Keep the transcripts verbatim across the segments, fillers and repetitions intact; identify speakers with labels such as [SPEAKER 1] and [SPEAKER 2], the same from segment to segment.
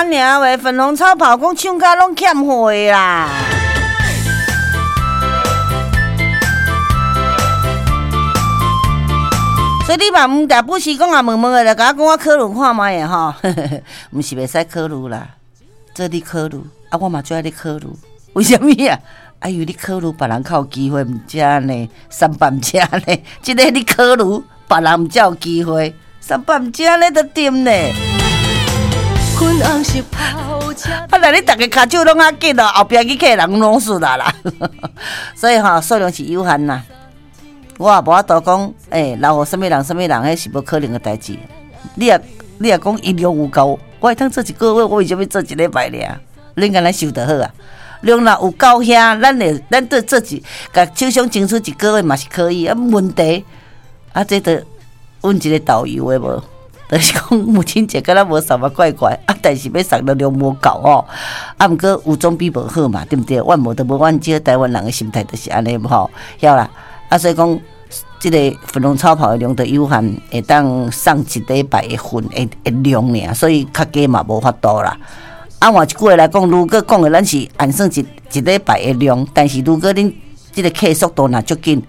[SPEAKER 1] 爾話，粉紅超跑講唱甲攏欠貨啦。所以你嘛毋定不時講啊，問問的，就共我講我考慮看覓的吼，毋是袂使考慮啦，做你考慮，啊，我嘛最愛你考慮，為啥物啊？啊，因為你考慮別人較有機會，毋才按呢，三百毋才按呢，這个你考慮別人毋才有機會，三百毋才按呢就對呢。啊，若你逐个跤手攏較緊哦，後壁去客人攏輸啦啦，所以吼數量是有限啦。我也無法度講，欸，留予啥物人、啥物人，彼是無可能的代誌。你若你若講伊量有夠，我會當做一個月，我為啥物做一禮拜爾？恁敢若收就好啊。量若有夠遐，咱會咱對做一，共手上爭取一個月嘛是可以啊。問題啊，這著阮一個導遊的無，就是講母親節敢若無送嘛怪怪啊，但是欲送的量無夠吼。啊，毋過有總比無好嘛，對毋對？怨無就無怨少，台灣人的心態就是按呢吼，曉啦。啊，所以講，這个粉紅超跑的量都有限，會當送一禮拜的份的的量爾，所以較加嘛無法度啦。啊，換一句話來講，如果講的咱是按算一一禮拜的量，但是如果恁這个客速度若足緊，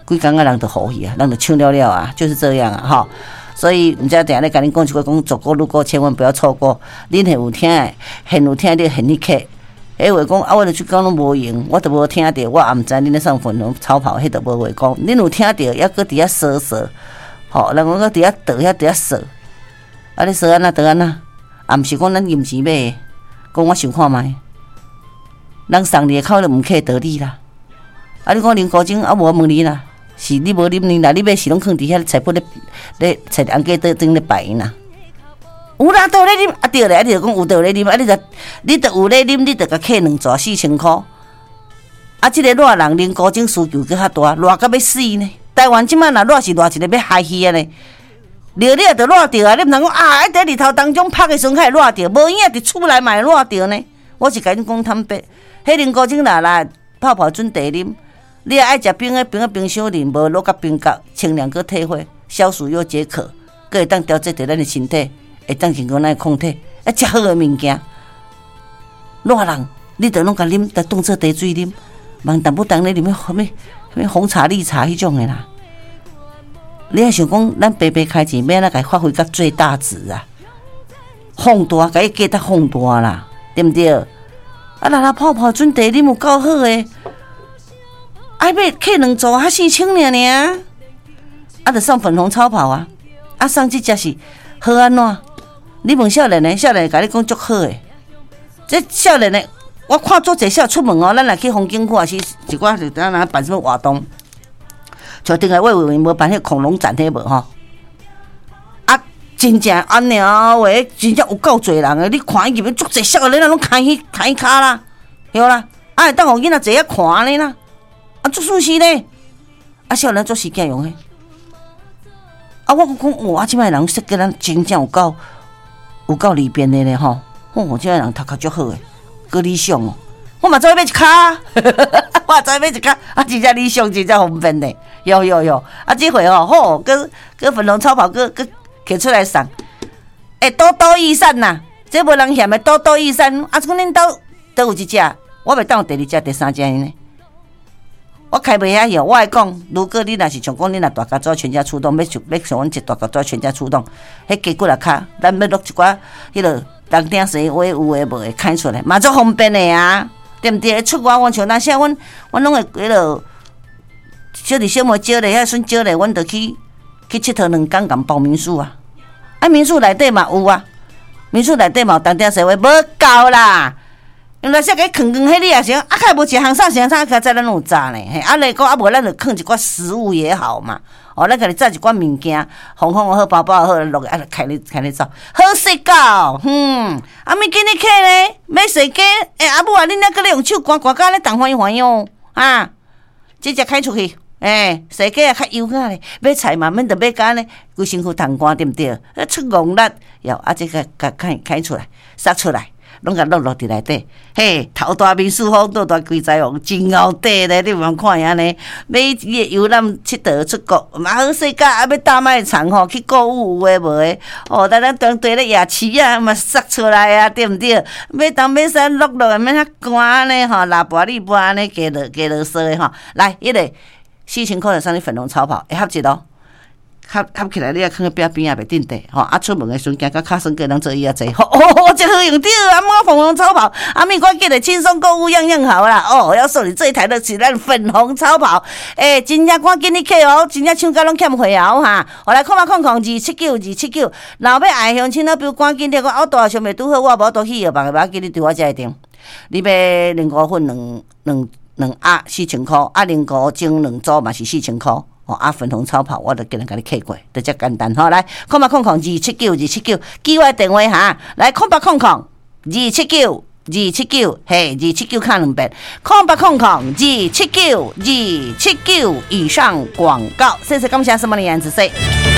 [SPEAKER 1] 規工仔人就予去啊，人就搶了了啊，就是這樣啊，吼。所以毋知定咧共恁講一句，講走過路過千萬不要錯過。恁現有聽的，現有聽你現去客。彼話講啊，我著出工攏無閒，我著無聽著，我也毋知恁咧送粉紅超跑，彼著無話講。恁有聽著，猶閣佇遐踅踅，吼，人講閣佇遐倒遐佇遐踅，啊，你踅按怎倒按怎？也毋是講咱金錢買的，講我想看覓，人送你的口就毋客道理啦。啊，你講林國晶啊，無問你啦，是你無啉你啦，你買是攏囥佇遐菜脯咧咧菜紅雞桌頂咧擺啦。有啦，都有咧啉，啊對咧，啊你就講有都有咧啉，啊你就你就有咧啉，你就共客兩逝四千箍。啊，這个熱人林國晶需求閣較大，熱甲欲死呢。台灣這擺若熱是熱一個欲害去啊呢。熱你也著熱著啊，你毋通講啊，喺佇日頭當中曝的時陣較會熱著，無影佇厝內嘛會熱著呢。我是共恁講坦白，彼林國晶若來泡泡準茶啉，你若愛食冰的，冰佇冰箱裡，無落甲冰角，清涼閣退火，消暑又解渴，閣會當調節著咱的身體。會當成講咱的抗體，啊，遮好的物件，熱人你著攏共啉，著當做茶水啉，茫淡薄當咧啉啥物啥物紅茶、綠茶彼種的啦。你愛想講，咱白白開錢，欲按怎共伊發揮到最大值啊？放大，共伊價值放大啦，對毋對？啊，若若泡泡準茶啉有夠好的，愛買客兩組，較四千爾爾，啊，著送粉紅超跑啊！啊，送這隻是好按怎？你問少年的，少年的共你講足好的。這少年的，我看足濟少出門哦，咱若去風景區，還是一寡就當若辦啥物活動，像頂個魏偉無辦彼恐龍展彼無吼？啊，真正按呢話，真正有夠濟人的。你看伊入去足濟少年仔攏牽彼牽彼跤啦，對啦，啊會當予囡仔坐遐看按呢啦，啊足舒適呢。啊，少年足時間用彼。啊，我講哇，這擺人設計咱真正有夠。有夠利便的咧吼！哦，這擺人頭殼足好的，閣理想哦。我嘛走去買一跤，我嘛走去買一跤，啊，真正理想，真正方便咧。有有有，啊，這回吼好，閣閣粉紅超跑，閣閣摕出來送。欸，多多益善呐，這無人嫌的多多益善。啊，這講恁兜佗有一隻，我袂當有第二隻、第三隻呢。我開袂遐曉，我愛講，如果你若是像講，你若大家族全家出動，欲像欲像阮一大家族全家出動，彼雞骨仔跤，咱欲落一寡彼落銅鼎生話有的無的開出來，嘛足方便的啊，對毋對？出外阮像若啥，阮阮攏會彼落小弟小妹招咧，遐孫招咧，阮就去去𨑨迌兩工，共包民宿啊。啊，民宿內底嘛有啊，民宿內底嘛有銅鼎生話，無夠啦。因為說共囥囥，彼你也是，啊，較無一項啥啥啥，較早咱攏有炸呢。嘿，啊，來講啊，無咱就囥一寡食物也好嘛。哦，咱家己炸一寡物件，紅紅好，包包好，落去啊，開咧開咧走，好勢到，嗯，啊，物今日客咧，欲踅街，欸，阿母啊，恁猶閣咧用手捾捾甲按呢重煩煩哦，啊，這隻開出去，欸，踅街也較優雅咧，買菜嘛免著買甲按呢，規身軀淌汗對毋對？啊，出戇力，喲，啊，這個共開開出來，殺出來。攏共挼落佇內底，嘿，頭大眠四方，倒大鬼財王，真𠢕綴咧！你毋通看伊按呢，欲遊覽𨑨迌出國嘛好勢甲，啊欲大賣場吼去購物有的無的，哦，咱咱當地咧夜市啊嘛殺出來啊，對毋對？欲東欲西落落免遐寒呢吼，拉跋里跋按呢加落加囉嗦的吼，來，彼个四千箍就送你粉紅超跑，會合一咯。合合起來，你也囥佇壁邊也袂鎮地吼。啊，出門的時陣行到較耍過人做椅仔坐，哦，這好用著啊！摸粉紅超跑，啊，物趕緊的輕鬆購物樣樣好啦。哦，要送你這一台的是咱粉紅超跑，欸，真正趕緊去客哦，真正搶甲攏欠貨啊！哈，予來空八空空二七九二七九，若欲愛鄉親老朋友趕緊的，我大上袂拄好，我無法度去藥房的，無要緊，你佇我遮會訂。你欲靈菇粉兩兩兩盒四千箍，啊，靈菇蒸兩組嘛是四千箍。哦，啊，粉紅超跑，我就今日共你客過，就遮簡單吼。來，空八空空二七九二七九，記我的電話哈。來，空八空空二七九二七九，嘿，二七九敲兩遍。空八空空二七九二七九，以上廣告。謝謝感謝什麼的顏子說。